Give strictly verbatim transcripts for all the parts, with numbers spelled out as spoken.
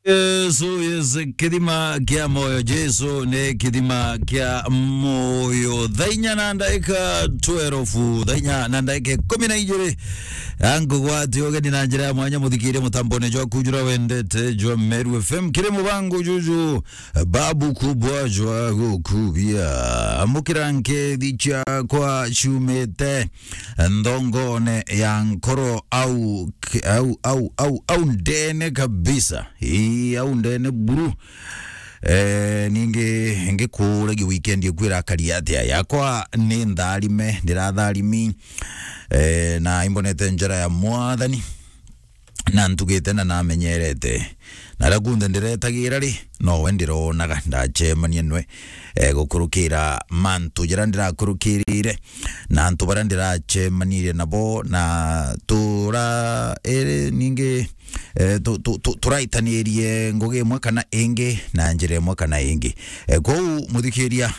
Yesu, yes, kithima kia moyo. Jesu ni kithima kia moyo. Thaa inya na ndagika twelve, thaa inya na ndagika ikumi na ijiri. Angugwati ugeni na njira ya mwanya, muthikirie mutambone jwa kujura wendete jwa Meru F M. Kiri mubango juju, babu kubwa jwa gukubia. Amukira nkethi ciakwa ciumite nthongone ya nkoro au, au, au, au, au ndene kabisa. Ii, au ndene buru. Eh, ningi ngikuragia weekend iku irakari atia? Yakwa ni ntharime, ndiratharimi. Eh, na imbonete njara ya Mwathani, na ntugite na namenyerete. Na aria kunthe ndiretagira ri, nowe ndironaga ndacemania nwe, eh, gukurukira mantu jaria ndirakurukirire, na antu baria ndiracemanirie nabo, na tura, iri ningi, eh, tu-, tu-, tu-, turaitanirie ngugi imwe kana ingi, na njira imwe kana ingi. Eh, kwou, muthikiria,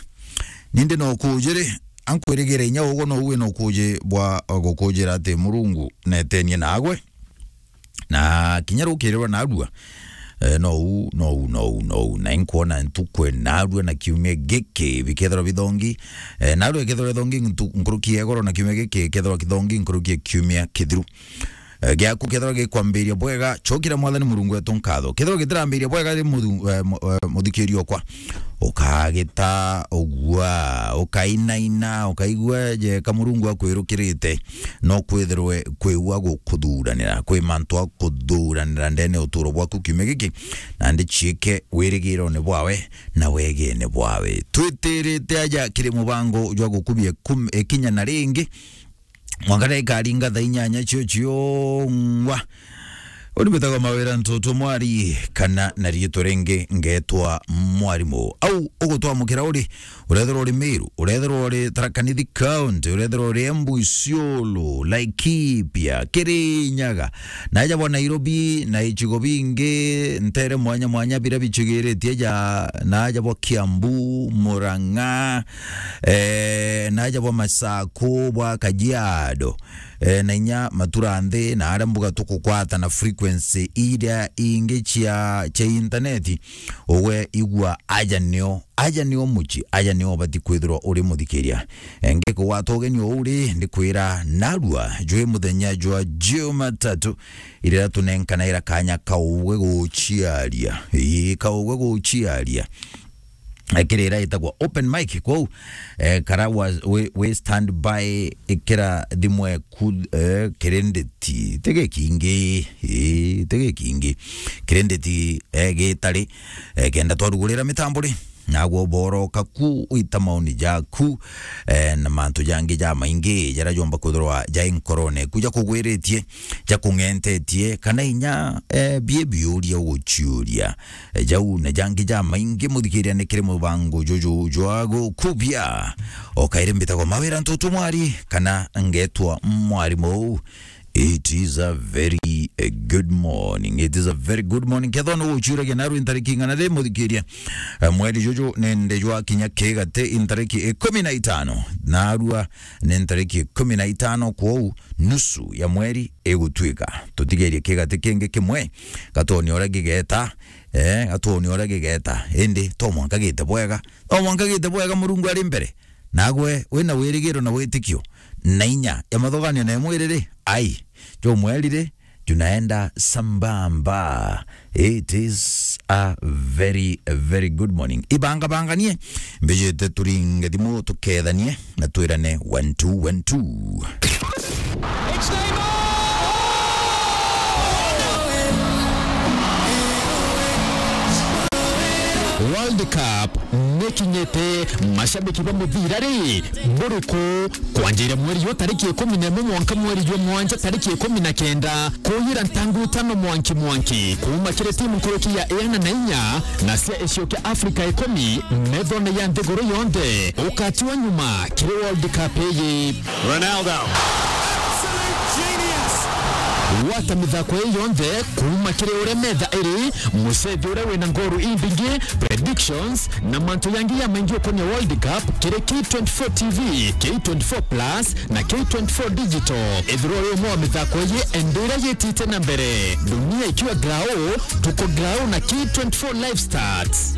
nindi no kujiri, ankwirigire inya uguo, no wi no kuji bwa gukujira ati Murungu netenie nagwe. Na kinya rukirirwa narua, eh, no u, no u, no u, no u. Na inkwona ntuku narua na kiumia giki bikethirwa bithongi, eh, narua ikethirwa ithongi ntu-, nkuruki ya igoro, na kiumia giki ikethirwa kithongi nkuruki ya kiumia kithiru. Eh, giaku kethirwa gikwambiria bwega, cokira Mwathani Murungu wetu nkatho. Kethirwa gitirambiria bwega ri muthu-, eh, mu-, eh, muthikiria okwa, ukagita, ugua, ukainaina, ukaigua jeka Murungu akwirukirite, no kwithirwe kwi u agukuthuranira, kwi mantu akuthuranira ndene uturo bwaku kiumia giki, nandi ciike wirigirone bwawe na wegene bwawe. Twitirite aja kiri mubango jwa gukubia kum-, ikinya na ringi, mwanka na ikaringa thaa inyanya cio ciongwa. Uni mbitagwa Mawira Ntutu Mwari, kana na riitwa ringi ngetwa Mwarimu. Au ugutwamukira uri, urethirwa uri Meru, urethirwa uri Tharaka Nithi County, urethirwa uri Embu, Isiolo, Laikipia, Kirinyaga, na aja bwa Nairobi, na icigo bingi ntere mwanya mwanya biria bicigiritie ja, na aja bwa Kiambu, Murang'a, eh, na aja bwa Masaku, bwa Kajiado, eh, na inya matura nthi, na aria mbuga tukukwata na frequency iria ingi cia, cia intaneti, ugwe igua aja nio, aja nio muci, aja nio ubati kwithirwa uri muthikiria. Eh, ngikugwata ugeni uu ri, ndikwira narua jwi muthenya jwa Jumatatu, iria tunenkanaira kanya kaugwe guciaria. Ii, kaugwe guciaria. Eh, kiri iria itagwa open mic, kwou, eh, kara wa-, wi, wi stand by, ikira thimu eku, eh, kirinditi, ti gikingi, ii, ti gikingi. Kirinditi, eh, gitari, eh, kenda twarugurira mitambo ri, nagwe uboroka ku wita maoni jaku, eh, na mantu jangi jamaingi jaria jomba kwithirwa jai nkorone eku jakugwiritie, jakung'entetie, kana inya, eh, bie biuria uguciuria. Eh, jau na jangi jamaingi muthikiria ni kiri mubango juju jwa gukubia. O kairi mbitagwa Mawira Ntutu Mwari, kana ngetwa Mwarimu. It is a very, eh, good morning. It is a very good morning. Kethwa ni guciuragia narua intariki ing'ana ri muthikiria, eh, mweri juju nende jwa kinya kigati intariki ikumi na itano. Narua ni ntariki ikumi na itano, kwou nusu ya mweri igutwika. Tutigerie kigati kingi kimwe, gatwoni uria gigeta, eh, gatwoni uria gigeta. Indi to mwanka gite bwega. To mwanka gite bwega, Murungu ari mbere. Nagwe wina wirigiro na witikio na inya ya mathuganio na imwiri ri, ai, jumweri ri, junaenda sambamba. It is a very, very good morning. Ibangabanganie, mbijite turinge thimu tukethanie na twirane one two one two. World Cup nikinyite, mashabiki ba muthira ri, buriku? Kwanjira mweri jwa tariki ikumi na imwe mwanka mweri jwa mwanja tariki ikumi na kenda, kuyira ntangu itano mwanki mwanki, kuuma kiri timu nkuruki ya iana na inya na cia icio kia Afrika ikumi, methone ya nthiguru yonthe, ukatiwa nyuma kiri World Cup iyi. Ronaldo. Absolute genius. Gwata mithako ii yonthe kuuma kiri uria metha iri, mucethi uria wina ngoru imbingi, predictions, na mantu yangi ya maingi ukonia World Cup kiri K twenty-four T V, K twenty-four Plus, na K twenty-four Digital. Ethirwa uri umwe wa mithako ii, enda iria yitite na mbere. Dunia ikiwa grau, tuko grau na K twenty-four Live Stats.